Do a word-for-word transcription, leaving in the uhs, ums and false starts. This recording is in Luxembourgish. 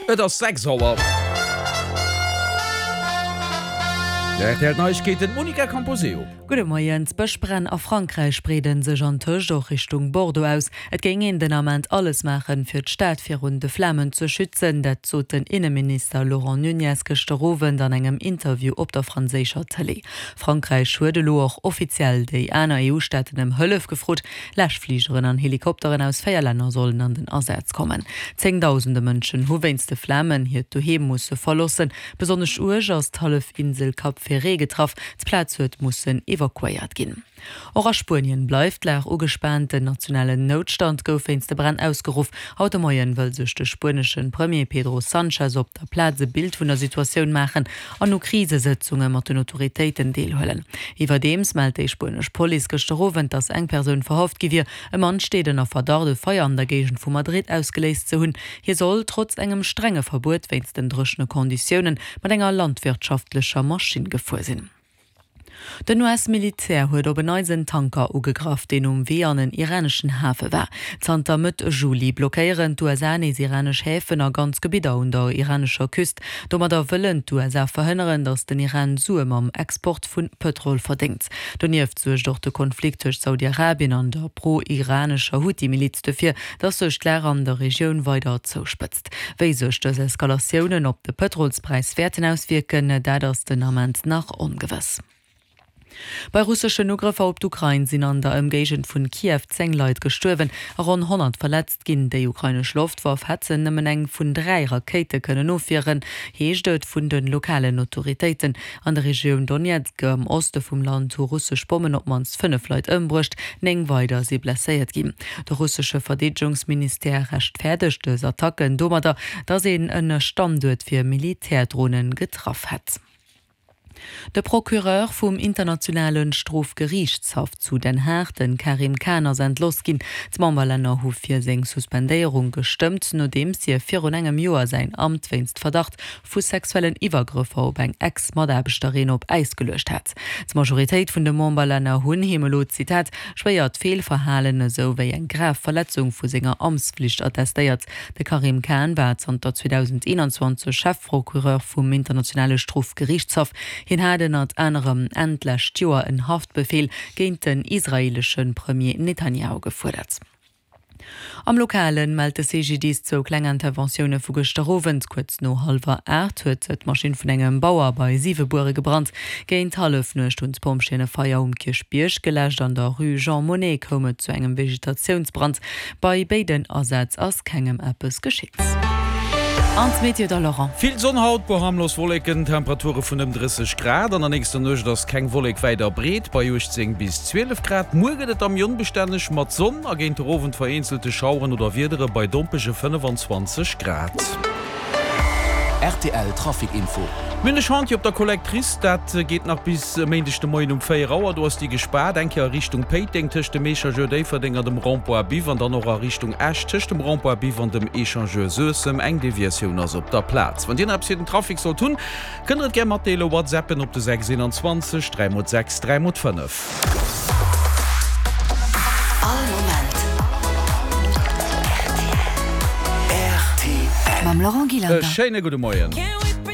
Et ass sechs Auer. Rtl Neiegkeeten, d'Monica Camposeo. Gudde Moien. D'Bëschbränn a Frankräich breede sech antëscht och Richtung Bordeaux aus. Et géing een den Ament alles maachen, fir d'Stad virun de Flamen ze schützen. Dat sot den Inneminister Laurent Nunez gëschter Owend an engem Interview op der franséischer Tëlee. Frankräich huet elo och offiziell déi aner EU-Staaten ëm Hëllef gefrot. Läschfligeren an Helikopteren aus véier Länner sollen an den Asaz kommen. Zéngdausende Mënschen hu wéinst de Flamen hiert Doheem musse verloossen. Besonnesch uerg ass d'Hallefinsel Cap Ferret getraff. D'Plaz huet mussen evakuéiert ginn. Och a Spuenien bleift d'Lag ugespaant. Den nationalen Noutstand gouf wéinst de Bränn ausgeruff. Haut de Moien wëll sech de spuenesche Premier Pedro Sanchez op der Plaz e Bild vun der Situatioun maachen an u Krisesëtzunge mat den Autoritéiten deelhuelen. Iwwerdeems mellt déi spuenesch Police gëschter Owend, datt eng Persoun verhaft gi wier. E Mann steet ënner Verdacht, e Feier an der Géigend vu Madrid ausgeléist ze hunn. Hie soll, trotz engem strenge Verbuet wéinst den dréchene Konditiounen, mat enger landwirtschaftlecher Maschinn gefuer sinn. Den US-Militär huet op en Neits en Tanker ugegraff, deen um Wee an en iraneschen Hafe war. Zanter Mëtt Juli blockéieren d'USA nees iranesch Häfen a ganz Gebidder un der iranescher Küst. Domadder wëllen d'USA verhënneren, datt den Iran Sue mam Export vu Pëtrol verdéngt. Donieft suergt och de Konflikt tëscht Saudi-Arabien an der pro-iranescher Huthi-Miliz dofir, datt sech d'Lag an der Regioun weider zouspëtzt. Wéi sech dës Eskalatiounen op de Pëtrolspräis wäerten auswierken, dat ass den Ament nach ongewëss. Bei russeschen Ugrëffer op d'Ukrain sinn an der Ëmgéigend vun Kiew zéng Leit gestuerwen a ronn honnert verletzt ginn. Déi ukrainesch Loftwaff hätt nëmmen eng vun dräi Rakéite kënnen ofwieren, heescht et vun de lokalen Autoritéiten. An der Regioun Donezk am Oste vum Land hu russesch Bommen op d'mannst fënnef Leit ëmbruecht, néng weider si blesséiert ginn. De russesche Verdeedegungsministère rechtfäerdegt dës Attacken domadder, datt een e Standuert fir Militärdronen getraff hätt. De Procureur vum Internationale Strofgeriichtshaff zu Den Haag, de Karim Khan, ass entlooss ginn. D'Memberlänner hu fir seng Suspendéierung gestëmmt, nodeems hie virun engem Joer säin Amt wéinst Verdacht vu sexuellen Iwwergrëffer op eng Ex-Mataarbechterin op Äis geluecht hat. D'Majoritéit vun de Memberlänner hunn him elo, Zitat, schwéiert Feelverhalen esou wéi eng grav Verletzung vu senger Amtsflicht attestéiert. De Karim Khan war zanter zweedausendeenanzwanzeg Chefprocureur vum Internationale Strofgeriichtshaff. Hien hat ënnert anerem Enn d'lescht Joer en Haftbefeel géint den israeelesche Premier Netanjahu gefuerdert. Am Lokalen mellt de C G D I S zwou kleng Interventioune vu gëschter Owend. Kuerz no hallwer aacht huet d'Maschinn vun engem Bauer bei Siwebuere gebrannt. Géint Hallefnuecht hunn d'Pompjeeën e Feier um Kierchbierg geläscht. An der Rue Jean Monnet koum et zu engem Vegetatiounsbrand. Bei béiden Asätz ass kengem eppes geschitt. An d'Meteo da Laurent. Vill Sonn haut, puer harmlos Wolleken, Temperature vun ëm drësseg Grad. An der nächster Nuecht ass keng Wollek wäit a breet, bei uechtzéng bis zwielef Grad. Muer gëtt et da méi onbestänneg mat Sonn a géint de Owend vereenzelte Schaueren oder Wiedere bei dompege fënnefenzwanzeg Grad. R T L Trafic Info. Mir hunn e Chantier op der Collectrice, dat geet nach bis e Méindeg de Moien um véier Auer. Do ass déi gespaart, eng Kéier a Richtung Péiteng tëscht dem Echangeur Déifferdeng an dem Rond-point Biff an dann och a Richtung Esch tëscht dem Rond-point Biff an dem Echangeur Suessem. Eng Deviatioun ass op der Plaz. Wann Dir nach eppes fir den Trafic sollt hunn, kënnt der et gär matdeelen, WhatsAppen op de sechs eenanzwanzeg dräi mol sechs dräi mol fënnef. All Moment rtl. Mam Laurent E Gillander. Schéine gudde Moien.